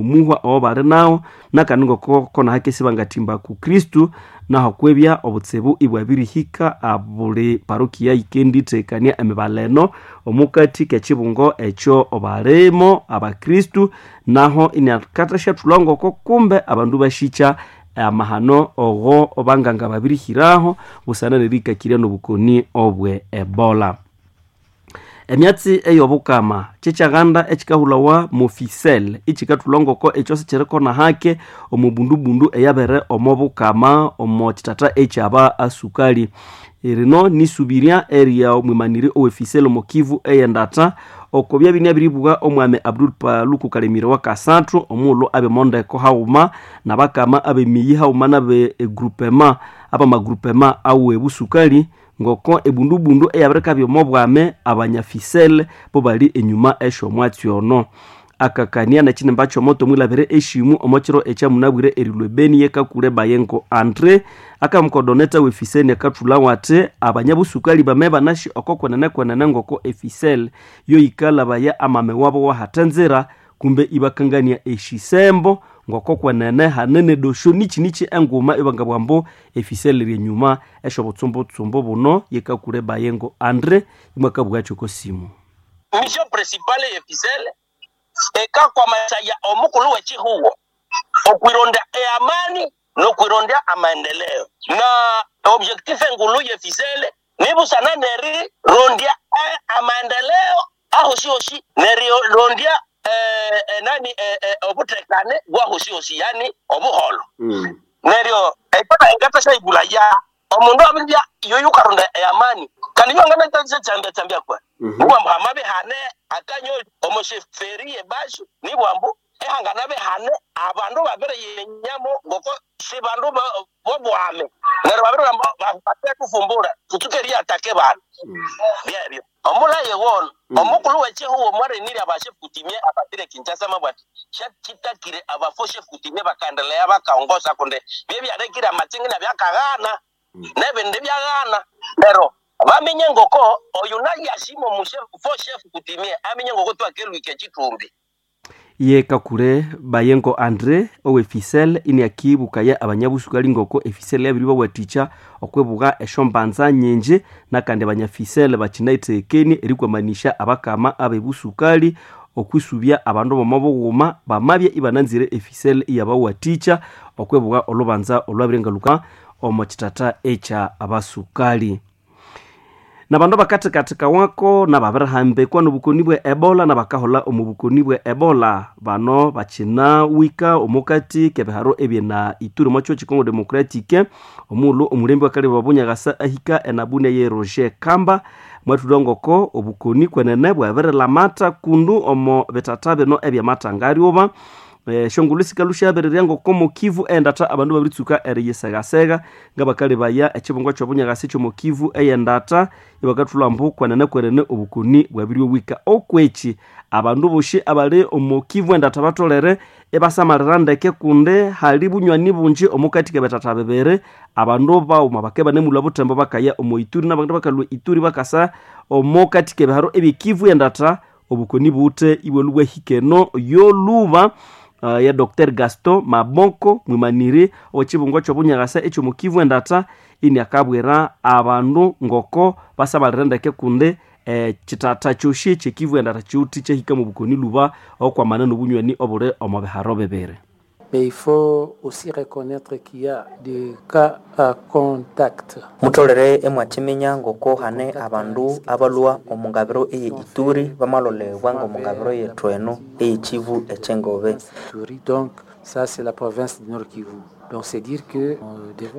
Omuhwa owo bali nawo nakandi ngoko kona hakesi bangathimba ku Kristu, naho kwebya obutsibu ibwabirihika abuli parokia yikendithekania emibala eno omukati k'ekibungo ekyo balimo abakristu, naho inakathasyathulha ngoko kumbe abandu bashikya amahano ogo banganga babirihiraho busana nerikakirya n'obukoni obwe Ebola. Emyatsi ey'obukama kyekyaganda ekikahulawa mofisel ikikathulha ngoko ekyo sikirikona hake omo bundubundu eyabere omo bukama omo kithatha ekyaba asukali. Rino nisubirya erya omwimaniri owe Fisel omo Kivu eyendatha oko byabya inabiribugha omwami Abdul Paluku Kalemire wa kasathu omughulhu abemondeko haghuma nabakama abemiyi haghuma nabe egrupema abamagrupema awe busukali ngoko ebundubundu eyabirikabya omo bwame abanyafisel bo bali enyuma esyomwatsi ono. Akakania nekinimba kyomoto omwilabire eshimu omo kiro ekyamunabwire erilwa ebeni yekakule Bayengo Andre akamukodoneta we Fisel akathulhawo athi abanyabusukali bame banashi oko kwenene kwenene ngoko efisel yoyikalabaya amame wabo wahatenzira kumbe ibakangania eshisembo ngoko kwenene hanene dosho nichi enguma ibangabugha ambu efisel ryenyuma esyobutsumbutshumbu buno yekakule Bayengo Andre imwakabugha kyoko simu. Mission principale ye Fisel ekakwamasaya omukulu w'ekihugo okwironda eamani n'okwironda amaendeleo, na objectif engulu ye Fisel nibusana nerirondya amaendeleo ahoshihoshi nerirondya nani obutekane bwahoshihoshi, yani obuholo. Neryo ekona engatasha ibulaya omundu abirya yoyukaronda eamani kandi yongana kwa nibwambu hamabe hane akanyo omosheferi yebashu nibwambu ehangana behane abandu babere yenyamo ngoko si bandu bobwame neryo babere bate kufumbura tutuke atake bandu byebyo omulaye wono omukulu w'ekihugo mwarenire abashefu kutimie abatire Kinshasa mabwati kyakitakire abafo shefu kutimie bakaendelea bakaongoza kunde byebyarekire amatsingi nabyakaghana nebindi byaghana lero bamenye ngoko oyu nayashimo mushefu chef kutimie amenye ngoko twakelwike chitumbi. Ye kakule Bayengo Andre owe Fisel iniakibukaya abanyabusukali ngoko efisel yabiribawathikya okwebugha esyombanza nyingi nakandi abanyafisel bakinaithekenie erikwamanisha abakama abebusukali okwisubya abandu bomo bughuma bamabya ibananzire efisel iyabawathikya okwebugha olubanza olwabirengaluka omo kithatha ekya abasukali. Nabandu bakathikathika wako nababirihambikwa nobukoni bwe Ebola nabakaholha omu bukoni bwe Ebola bano bakinawika omukati kebiharo ebyena Ituri omo kyo Congo Democratique omughulhu omulembe wakalebe obunyakasa ahika enabunia ye Roger Kamba mwathulha ngoko obukoni kwenene bwabirilamata kundu omo bithatha bino ebyamathangaryuba. Esyongulhu sikalhu syabirirya ngoko mokivu endatha abandu babiritsuka eriyisegasega ngabakalebaya ekibungo kyobunyakasa ekyomokivu eyendatha ibakathulha ambu kwenene kwenene obukoni bwabiryowika. Okweki abandu bosi abali omokivu endatha batholere ibasamalira ndeke kundi hali bunywani bungi omukati kebithatha bibiri abandu baghuma bakabya banemulhwa buthembo bakaya omo Ituri nabandu bakalhwa Ituri bakasa omukati kebiharo ebyekivu endatha obukoni buwithe ibwalhwa bwahika eno yolhuba. Ya Dr Gaston Maboko mwimaniri owekibungo kyobunyakasa ekyomukivu endatha iniakabwira abandu ngoko basamalire ndeke kundi kithatha kyosi ekyekivu endatha kyiwithe kyahika mubukoni lhuba okwamana nobunywani obuli omo biharo bibiri. Mais il faut aussi reconnaître qu'il y a des cas à contact. Mutholere emwakiminya ngoko hane abandu abalhwa omu ngabiro eye Ituri bamalolebwa ng'omu ngabiro yethu eno eyekivu ekyengobe. Donc ça c'est la province du Nord Kivu. Donc c'est dire que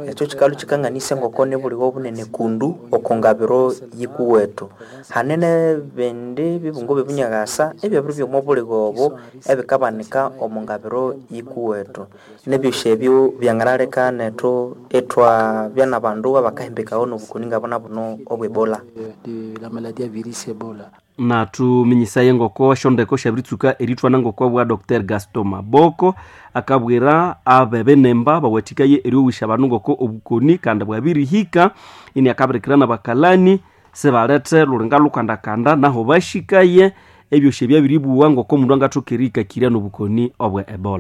ekyo kikalu kikanganisa ngoko nibulighe obunene kundu oko ngabiro yikuwethu. Hane nebindi bibungo byebunyakasa ebyabiri byoma obulighe obo ebikabanika omu ngabiro yikuwethu. Nebyosi ebyo byanganaleka nethu ithwabya nabandu abakahimbikawa nobukoni ngabuna buno obwe Ebola. De la maladie à virus Ebola. Nathuminyisaye ngoko esyondeko syabiritsuka erithwana ngoko bwa Dr Gaston Maboko akabwira abebenemba bawathikaye eryowisha abandu ngoko obukoni kandi bwabirihika ini akabirikira nabakalani sibalethe lulinga lukandakanda naho bashikaye Ebyosi ebyabiribuwa ngoko omundu angathoka erihikakirya n'obukoni obwe Ebola.